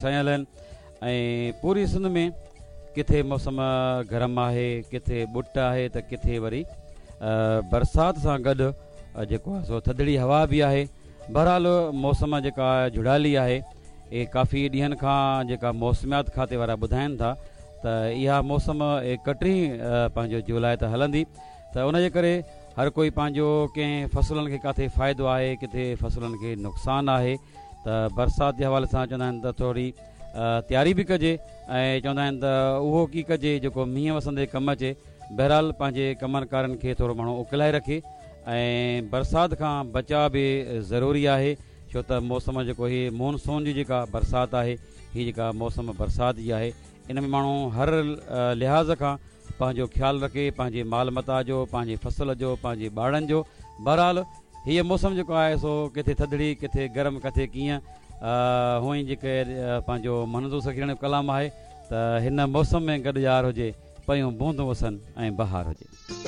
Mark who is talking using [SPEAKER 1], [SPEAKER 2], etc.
[SPEAKER 1] ڇانيل آهن ۽ پوري سنڌ ۾ ڪٿي موسم گرم آهي ڪٿي ٻٽ آهي ته ڪٿي وري برسات سان گڏ جيڪو آهي سو ٿڌڙي هوا به آهي. بهرحال موسم جيڪا جهڙالي آهي اهي ڪافي ڏينهن کان جيڪا موسميات کاتي وارا ٻڌائن ٿا ته اها موسم ايڪٽيهه پنهنجو جولاء ته هلندي ته ان جي ڪري هر ڪوئي پنهنجو ڪنهن فصلن کي ڪاٿي فائدو آهي ڪٿي فصلن کي نقصان آهي ته برسات جي حوالي سان چوندا آهن ته ٿوري تياري به ڪجي ۽ چوندا آهن ته اهو ڪي ڪجي جيڪو مينهن وسندي ڪم اچي. بهرحال پنهنجي ڪمن ڪارن کي ٿورو ماڻهو اڪلائي رکي ۽ برسات کان بچاء به ضروري آهي ڇو ته موسم جيڪو هي مون سون جي جيڪا برسات آهي هي جيڪا موسم برسات جي آهي ان ۾ ماڻهو هر لحاظ کان پنهنجو خيال رکي پنهنجي مال متاع جو پنهنجي فصل جو پنهنجي ٻارڙن جو بهرحال هيء موسم جيڪو آهي سو ڪٿي ٿڌڙي ڪٿي گرم ڪٿي ڪيئن هونئن جيڪي پنهنجو منظور سخيراڻي جو ڪلام آهي ته هن موسم ۾ گڏ يار هجي پيون بوندون وسن ۽ بهار هجي.